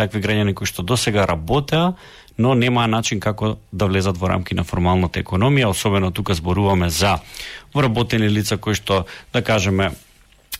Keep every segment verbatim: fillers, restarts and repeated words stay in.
такви граѓани кои што досега работеа, но нема начин како да влезат во рамки на формалната економија, особено тука зборуваме за вработени лица кои што, да кажеме,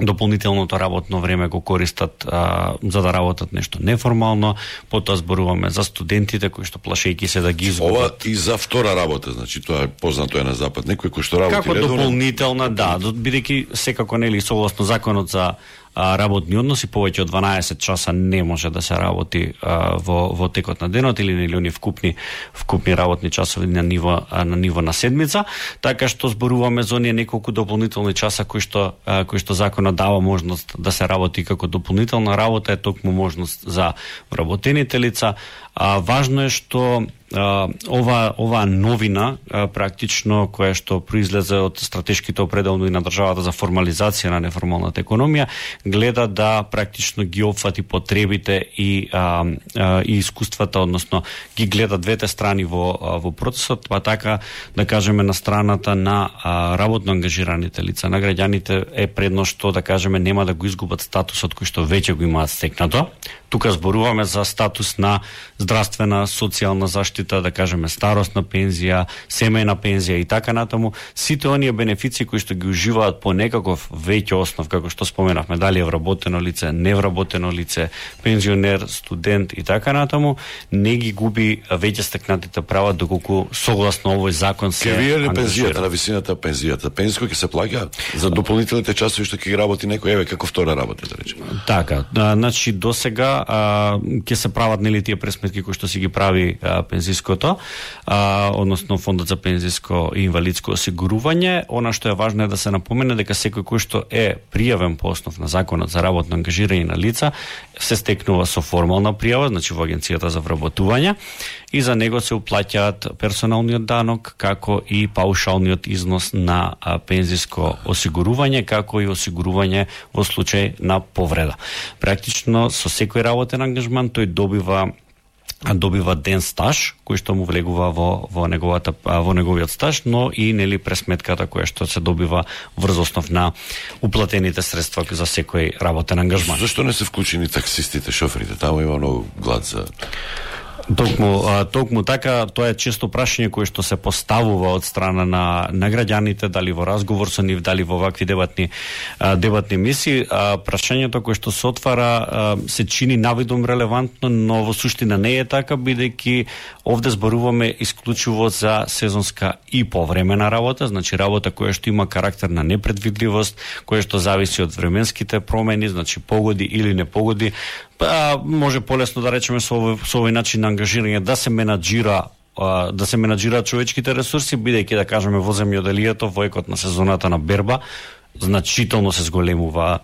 дополнителното работно време го користат а, за да работат нешто неформално, потоа зборуваме за студентите кои што плашејќи се да ги изгубат. Ова и за втора работа, значи тоа е познато е на запад. Некој кој што работи како редовно, дополнителна, да, бидејќи секако нели согласно законот за а, работни односи повеќе од дванаесет часа не може да се работи а, во во текот на денот или нели они вкупни вкупни работни часови на ниво а, на ниво на седмица, така што зборуваме за оние неколку дополнителни часа кои што а, кои што законот дава можност да се работи како дополнителна работа, е токму можност за вработените лица. А, важно е што а, ова ова новина а, практично која што произлезе од стратешките определни на државата за формализација на неформалната економија, гледа да практично ги опфати потребите и а, а, и искуствата, односно ги гледа двете страни во во процесот, па така да кажеме на страната на а, работно ангажираните лица, на граѓаните е предно што да кажеме нема да го изгубат статусот кој што веќе го имаат стекнато. Тука зборуваме за статус на здравствена, социјална заштита, да кажеме старосна пензија, семејна пензија и така натаму. Сите оние бенефиции кои што ги уживаат по некаков веќе основ, како што споменавме, дали е вработено лице, невработено лице, пензионер, студент и така натаму, не ги губи веќе стекнатите права доколку согласно овој закон се ангажира. Ке вие пензијата, на ангажира. висината пензијата, пензијsko ќе се плаќа за дополнителните часови што ќе ги работи некој, еве како втора работа, да речеме. Така, да, значи досега а, ќе се прават нели тие пресметки кои што си ги прави а, пензиското, а, односно фондот за пензиско и инвалидско осигурување. Она што е важно е да се напомене дека секој кој што е пријавен по основ на законот за работно ангажирање на лица се стекнува со формална пријава, значи во агенцијата за вработување, и за него се уплаќаат персоналниот данок, како и паушалниот износ на а, пензиско осигурување, како и осигурување во случај на повреда. Практично со секој работен ангажман тој добива добива ден стаж кој што му влегува во во неговата во неговиот стаж, но и нели пресметката која што се добива врз основ на уплатените средства за секој работен ангажман. Зашто не се вклучени таксистите, шоферите? Таму има многу глад за Токму, а, токму така, тоа е често прашање кое што се поставува од страна на, на граѓаните, дали во разговор со нив, дали во вакви дебатни, а, дебатни мисии. А, прашањето кое што се отвара а, се чини навидом релевантно, но во суштина не е така, бидејќи овде зборуваме исклучиво за сезонска и повремена работа, значи работа која што има карактер на непредвидливост, која што зависи од временските промени, значи погоди или не погоди. Па, може полесно да речеме со овој, со овој начин на ангажирање да се менаџира да се менаџираат човечките ресурси, бидејќи да кажеме во земјоделието во екот на сезоната на берба значително се зголемува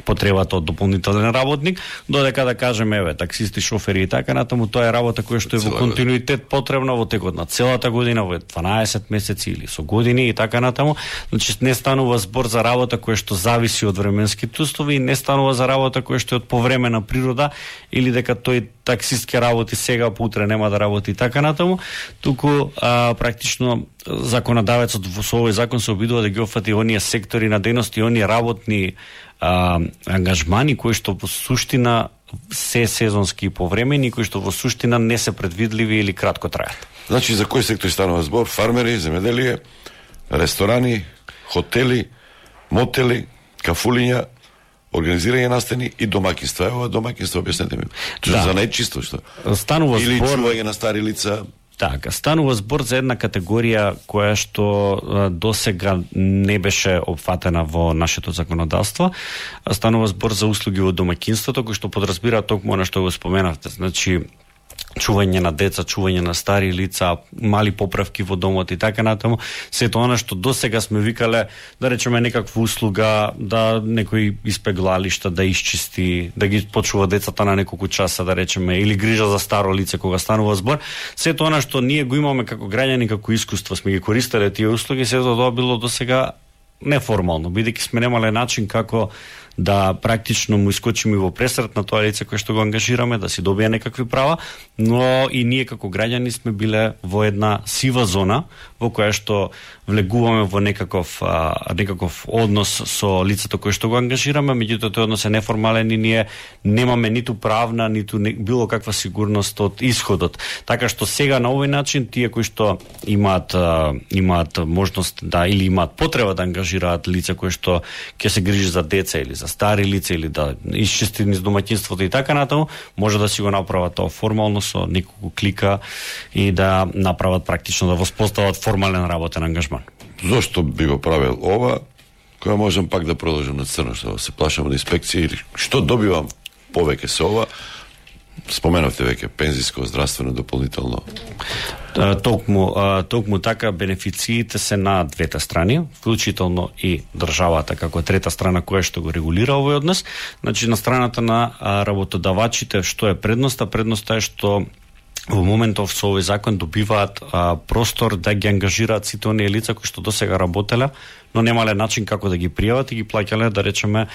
потребата од дополнителен работник, додека да кажеме еве таксисти, шофери и така натаму, тоа е работа која што е во континуитет потребна во текот на целата година, во дванаесет месеци или со години и така натаму. Значи не станува збор за работа која што зависи од временските услови и не станува за работа која што е од повремена природа или дека тој таксист ќе работи сега, па утре нема да работи и така натаму, туку а, практично законодавецот во овој закон се обидува да ги опфати оние сектори на дејност и оние работни а, ангажмани кои што во суштина се сезонски и повремени, кои што во суштина не се предвидливи или кратко трајат. Значи за кој сектор станува збор? Фармери, земјоделие, ресторани, хотели, мотели, кафулиња, организирање настани и домаќинства. Ево домаќинства, објаснете ми. Да. За најчисто што? Станува или збор... чување на стари лица. Така, станува збор за една категорија која што досега не беше опфатена во нашето законодавство. Станува збор за услуги во домаќинството, кои што подразбира токму она што го споменавте. Значи, чување на деца, чување на стари лица, мали поправки во домот и така натаму. Сето она што досега сме викале, да речеме некаква услуга, да некој испеглалишта, да исчисти, да ги почува децата на неколку часа, да речеме, или грижа за старо лице кога станува збор. Сето она што ние го имаме како граѓани, како искуство, сме ги користеле тие услуги, сето тоа било досега неформално, бидејќи сме немале начин како да практично му искочиме во пресрет на тоа лице кое што го ангажираме, да си добие некакви права, но и ние како граѓани сме биле во една сива зона во која што влегуваме во некаков а, некаков однос со лицето кое што го ангажираме, меѓутоа тој однос е неформален и ние немаме ниту правна, ниту не, било каква сигурност од исходот. Така што сега на овој начин тие кои што имаат а, имаат можност да или имаат потреба да ангажираат лице кои што ќе се грижи за деца или за стари лица или да исчисти низ домаќинството и така натаму, може да си го направат тоа формално со неколку клика и да направат практично да воспостават формален работен ангажман. Зошто би го правил ова, која можам пак да продолжам на црно, што се плашам од инспекција или што добивам повеќе со ова? Споменавте веќе пензиско, здравствено, дополнително. Токму, токму така бенефициите се на двете страни, вклучително и државата како трета страна која што го регулира овој однос. Значи на страната на работодавачите што е предноста? Предноста е што во моментов со овој закон добиваат а, простор да ги ангажираат сите оние лица кои што досега работеле, но немале начин како да ги пријават и ги плаќале, да речеме,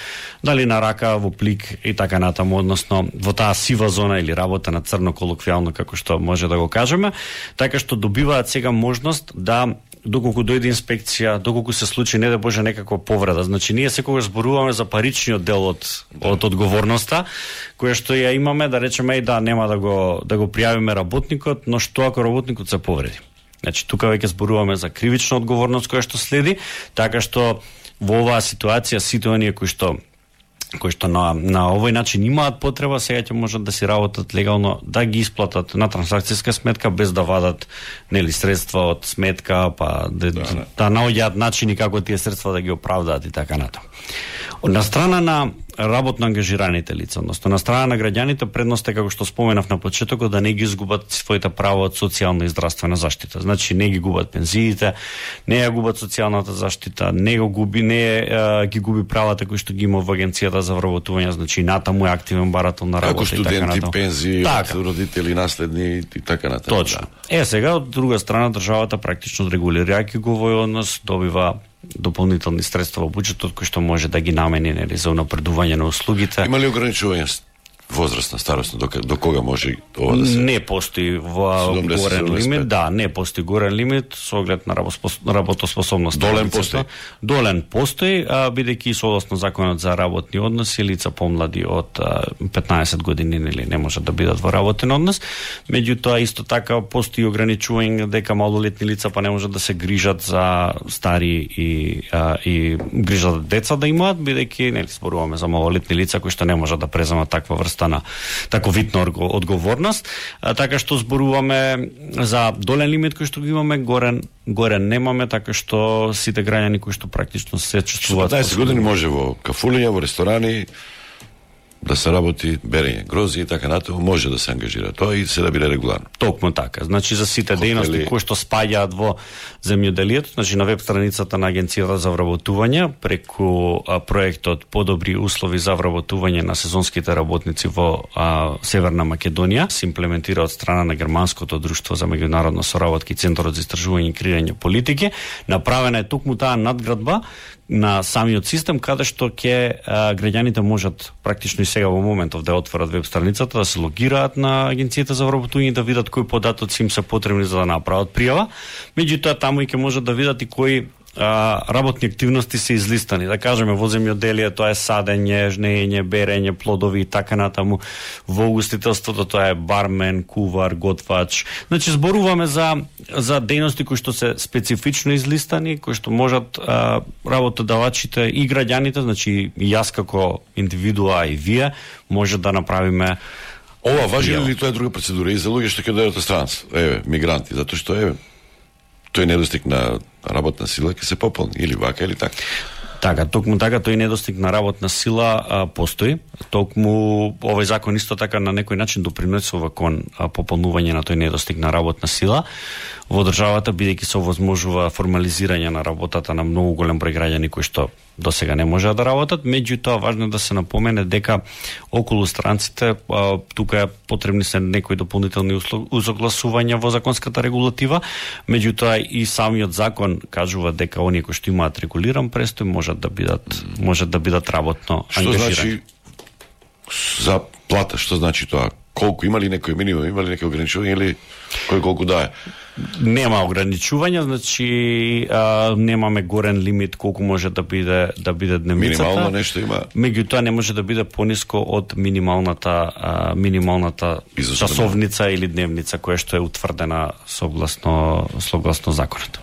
дали на рака, во плик и така натаму, односно во таа сива зона или работа на црно колоквијално, како што може да го кажеме, така што добиваат сега можност да доколку дојде инспекција, доколку се случи не да боже некаква повреда. Значи ние секогаш зборуваме за паричниот дел од да. од одговорноста, која што ја имаме, да речеме и да нема да го да го пријавиме работникот, но што ако работникот се повреди. Значи тука веќе зборуваме за кривична одговорност која што следи, така што во оваа ситуација сите оние кои што кои што на, на овој начин имаат потреба, сега ќе можат да си работат легално, да ги исплатат на трансакцијска сметка без да вадат нели средства од сметка, па да, да, да. да наоѓаат начини како тие средства да ги оправдаат и така натаму. На страна на работно ангажираните лица, односно на страна на граѓаните, предност е, како што споменав на почетокот, да не ги изгубат своите права од социјална и здравствена заштита. Значи не ги губат пензиите, не ја губат социјалната заштита, не го губи, не а, ги губи правата кои што ги има во агенцијата за вработување, значи натаму е активен барател на работа. Како студенти, и така пензии, така. Од родители, наследни и така натаму. Точно. Е, сега од друга страна државата практично регулирајќи го овој однос добива дополнителни средства во буџетот кои што може да ги намени нели за унапредување на услугите. Има ли ограничување возрастна старост до, до кога може ова да се? Не постои во горен лимит, да, не постои горен лимит со оглед на работоспособност. Долен постои. Долен постои, а, бидејќи согласно законот за работни односи лица помлади од а, петнаесет години нели не можат да бидат во работен однос. Меѓутоа исто така постои ограничување дека малолетни лица па не можат да се грижат за стари и а, и грижат деца да имаат, бидејќи нели зборуваме за малолетни лица кои што не можат да преземат таква врста на тако видна одговорност, а, така што зборуваме за долен лимит кој што го имаме, горен горен немаме, така што сите граѓани кои што практично се чувствуваат. петнаесет години може во кафулиња, во ресторани да се работи берење грози и така натаму, може да се ангажира тоа и се да биде регуларно. Токму така. Значи за сите Хотели... дејности кои што спаѓаат во земјоделието, значи на веб страницата на агенцијата за вработување преку а, проектот Подобри услови за вработување на сезонските работници во а, Северна Македонија се имплементира од страна на Германското друштво за меѓународна соработка и Центарот за истражување и креирање политики. Направена е токму таа надградба на самиот систем, каде што ќе граѓаните можат практично и сега во моментов да отворат веб страницата, да се логираат на агенцијата за вработување, да видат кои податоци им се потребни за да направат пријава. Меѓутоа таму и ќе можат да видат и кои а, работни активности се излистани. Да кажеме во земјоделие тоа е садење, жнеење, берење, плодови и така натаму. Во угостителството тоа е бармен, кувар, готвач. Значи зборуваме за за дејности кои што се специфично излистани, кои што можат а, работодавачите и граѓаните, значи и јас како индивидуа и вие може да направиме. Ова важи ли тоа е друга процедура и за луѓе што ќе дојдат од странец, еве, мигранти, затоа што еве тој недостиг на работна сила ќе се пополни или вака или така. Така, токму така тој недостиг на работна сила а, постои. Токму овој закон исто така на некој начин допринесува кон а, пополнување на тој недостиг на работна сила во државата, бидејќи се овозможува формализирање на работата на многу голем број граѓани кои што до сега не можеа да работат, меѓутоа важно е да се напомене дека околу странците а, тука потребни се некои дополнителни усогласувања во законската регулатива, меѓутоа и самиот закон кажува дека оние кои што имаат регулиран престој можат да бидат можат да бидат работно ангажирани. Што значи за плата, што значи тоа? Колку има ли некој минимум, има ли некој ограничување или кој колку дае? Нема ограничувања, значи а, немаме горен лимит колку може да биде да биде дневницата. Минимално нешто има. Меѓутоа не може да биде пониско од минималната а, минималната часовница или дневница која што е утврдена согласно согласно законот.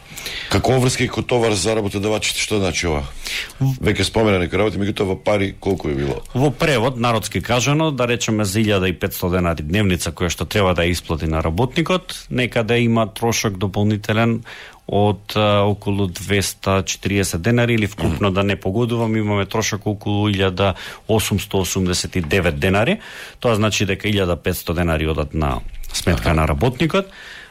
Како врска и товар за работодавачите, што значи ова? Веќе спомена некои работи, меѓутоа во пари колку е било? Во превод, народски кажано, да речеме за илјада и петстотини денари дневница која што треба да ја исплати на работникот, некаде има трошок дополнителен од а, околу двеста и четириесет денари или вкупно mm. да не погодувам, имаме трошок околу илјада осумстотини осумдесет и девет денари. Тоа значи дека илјада и петстотини денари одат на сметка ага. на работникот.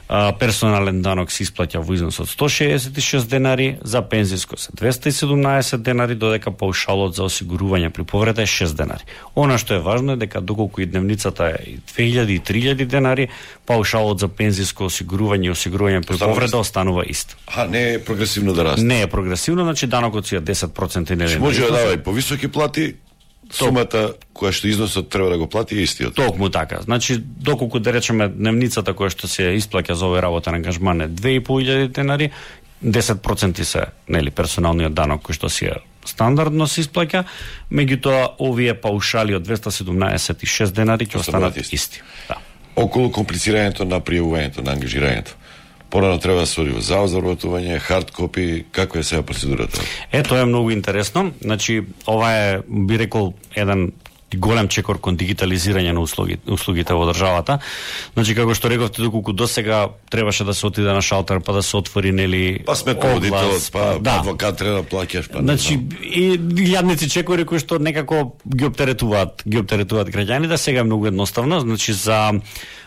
Uh, персонален данок се исплаќа во износ од сто шеесет и шест денари, за пензиско се двеста и седумнаесет денари, додека паушалот за осигурување при повреда е шест денари. Она што е важно е дека доколку и дневницата е две илјади и три илјади денари, паушалот за пензиско осигурување и осигурување при повреда останува ист. А не е прогресивно да расте. Не е прогресивно, значи данокот си е десет проценти нели. Може да дава и повисоки плати. Сумата која што износот треба да го плати е истиот. Токму така. Значи, доколку да речеме дневницата која што се исплаќа за овој работен ангажман е две и по илјади денари, десет проценти се, нели, персоналниот данок кој што си е стандардно се исплаќа, меѓутоа овие паушали од двеста седумнаесет и шест денари ќе останат исти. исти. Да. Околу комплицирањето на пријавувањето, на ангажирањето. Порано треба да се оди во завод за вработување, хард копи, како е сега процедурата? Е, тоа е многу интересно. Значи, ова е, би рекол, еден голем чекор кон дигитализирање на услуги, услугите во државата. Значи, како што рековте, доколку досега требаше да се отиде на шалтер, па да се отвори, нели, па сметноводител, па, да. адвокат треба да плаќаш, па. Значи, и јадници чекори кои што некако ги оптеретуваат, ги оптеретуваат граѓаните, сега е многу едноставно. Значи, за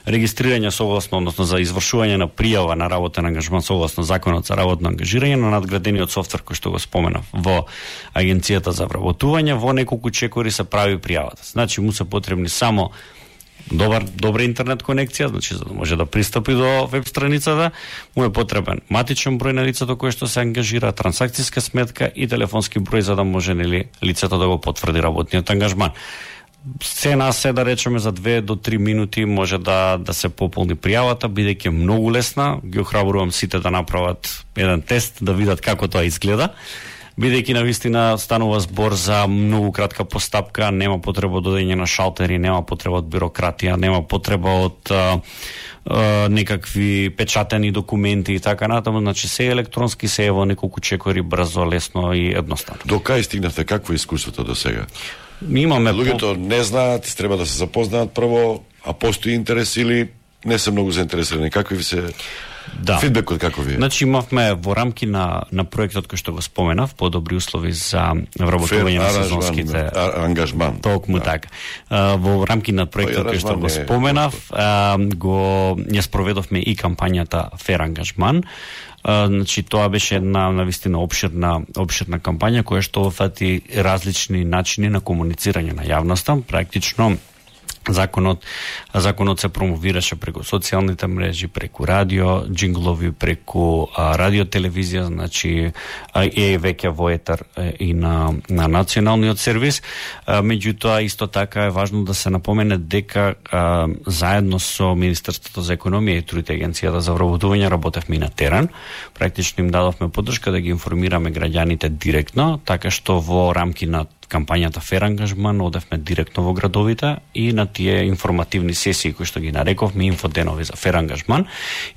регистрирање согласно, односно за извршување на пријава на работен ангажман согласно законот за работно ангажирање на надградениот софтвер кој што го споменав во Агенцијата за вработување, во неколку чекори се прави пријавата. Значи му се потребни само добар добра интернет конекција, значи за да може да пристапи до веб страницата, му е потребен матичен број на лицето кое што се ангажира, трансакцијска сметка и телефонски број за да може, нели, лицето да го потврди работниот ангажман. Се на се, да речеме, за две до три минути може да да се пополни пријавата, бидејќи многу лесна. Ги охрабрувам сите да направат еден тест, да видат како тоа изгледа. Бидејќи навистина станува збор за многу кратка постапка, нема потреба од одење на шалтери, нема потреба од бирократија, нема потреба од а, а, некакви печатени документи и така натаму, значи се електронски, се е во неколку чекори, брзо, лесно и едноставно. До кај стигнавте, какво е искуството до сега? Имаме луѓето по... не знаат, треба да се запознаат прво, а постои интерес или не се многу заинтересирани? Какви ви се да. Фидбекот како ви е? Значи имавме во рамки на на проектот кој што го споменав, подобри услови за вработување на сезонските ангажман. Токму да. така. Во рамки на проектот кој што го споменав, го ја спроведовме и кампањата Фер ангажман. Uh, значи тоа беше една навистина обширна обширна кампања која што фати различни начини на комуницирање на јавноста. Практично законот законот се промовираше преку социјалните мрежи, преку радио, джинглови, преку а, радио телевизија, значи а, е веќе во етер е, и на на националниот сервис. А, меѓутоа исто така е важно да се напомене дека а, заедно со Министерството за економија и труд и Агенцијата за вработување работевме и на терен. Практично им дадовме поддршка да ги информираме граѓаните директно, така што во рамки на кампањата Фер ангажман одевме директно во градовите и на тие информативни сесии кои што ги нарековме инфоденови за Фер ангажман,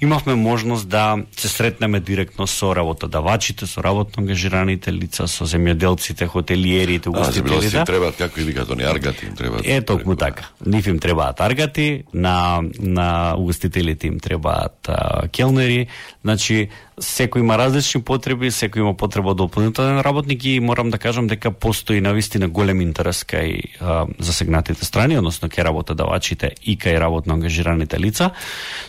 имавме можност да се сретнеме директно со работодавачите, со работно ангажираните лица, со земјоделците, хотелиерите, угостителите. А, требаат како или като не аргати им требаат. Е токму така. Нив им требаат аргати, на на угостителите им требаат а, келнери, значи секој има различни потреби, секој има потреба од дополнителен работник и морам да кажам дека постои навистина голем интерес кај а, засегнатите страни, односно кај работодавачите и кај работно ангажираните лица.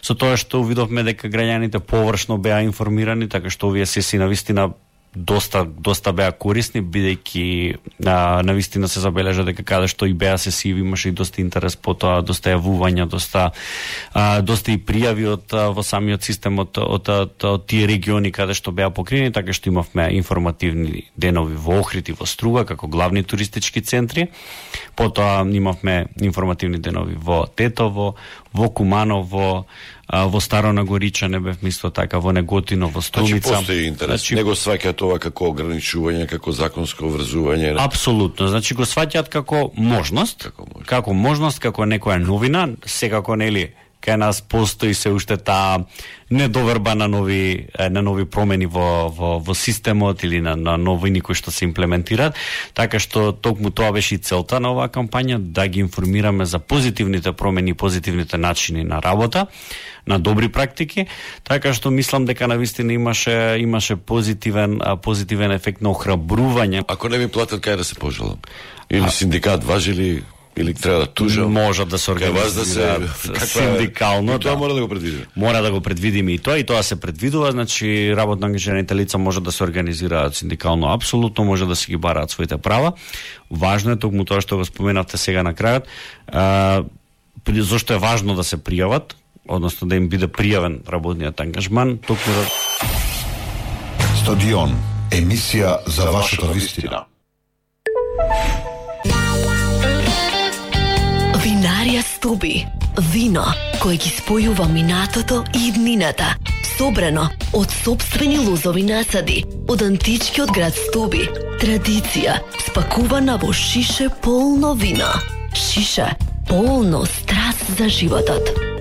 Со тоа што видовме дека граѓаните површно беа информирани, така што овие сесии навистина доста доста беа корисни, бидејќи навистина се забележа дека каде што и беа се сиви, имаше и доста интерес по тоа, доста јавувања, доста а, доста и пријави од во самиот систем од, од, од, од тие региони каде што беа покрени, така што имавме информативни денови во Охрид и во Струга како главни туристички центри. Потоа имавме информативни денови во Тетово, во Куманово, во Старо Нагоричане бев мисло така, во Неготино, во Струмица. Значи постои интерес. Значи, не го сваќаат ова како ограничување, како законско врзување. Апсолутно. Значи го сваќаат како можност, како можност, како можност, како некоја новина, секако нели кај нас постои се уште таа недоверба на нови на нови промени во во во системот или на на новини кои што се имплементираат, така што токму тоа беше и целта на оваа кампања, да ги информираме за позитивните промени, позитивните начини на работа, на добри практики, така што мислам дека навистина имаше имаше позитивен позитивен ефект на охрабрување. Ако не ми платат, кај да се пожалам? Или синдикат важи ли? Или треба да тужам? Може да се организира да се, синдикално. Тоа да. мора да го предвидиме. Мора да го предвидиме и тоа, и тоа се предвидува, значи работно ангажираните лица може да се организираат синдикално, апсолутно, може да си ги бараат своите права. Важно е токму тоа што го споменавте сега на крајот. А, зошто е важно да се пријават, односно да им биде пријавен работниот ангажман, токму да... Стадион, емисија за вашата вистина. Винарија Стуби. Вино кое ги спојува минатото и иднината. Собрано од сопствени лозови насади, од античкиот град Стуби. Традиција спакувана во шише полно вино. Шише полно страст за животот.